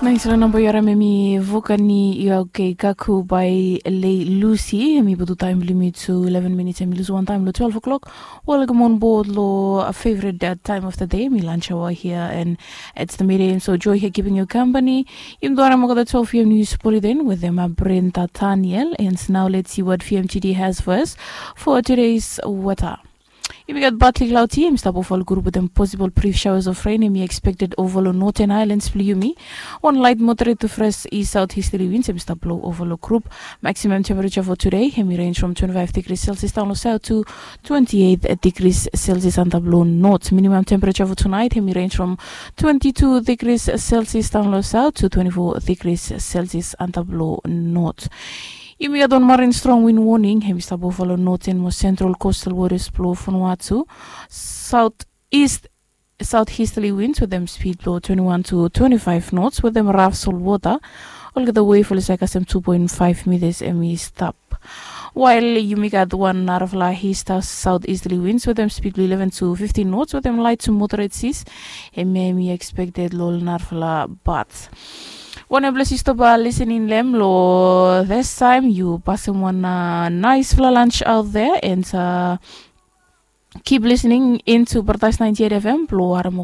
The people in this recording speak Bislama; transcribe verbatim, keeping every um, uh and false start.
Nais long namba yu harim em i Vukani Iau Kei Kaku by Lei Lucy. Em i putum taem blong yumi to eleven minutes, em i lus wan taem long twelve o'clock. Welcome on board long a favorite uh, time of the day. Em i lunch hour here and it's the midday. So joy here keeping you company. Yumi tu harim olgeta twelve p.m. news bulletin with them uh, Brenda Daniel. And now let's see what P M G D has for us for today's weather. Yumi gat partly cloudy, em i stap ova long grup wetem possible brief showers of rain em i expected ova long northern islands blong yumi. Wan light moderate to fresh east south easterly winds em i stap blow ova long grup. Maximum temperature for today em i range from twenty-five degrees Celsius down long south to twenty-eight degrees Celsius antap long north. Minimum temperature for tonight em i range from twenty-two degrees Celsius down long south to twenty-four degrees Celsius antap long north. Yumi gat wan marin strong wind warning em i stap ova long northern mo central coastal waters blong Vanuatu. South east south easterly winds wetem speed blong twenty-one to twenty-five knots wetem raf solwota. Olgeta wave oli save kasem two point five meters em i stap. While yumi gat wan narafala east south easterly winds wetem speed blong eleven to fifteen knots wetem light to moderate seas. Em em i expected long ol narafala bat. Wanepela yu stop listening long em long this time yu pasem wan uh, nice fala lunch out there and uh, keep listening into Paradise ninety-eight F M blong harim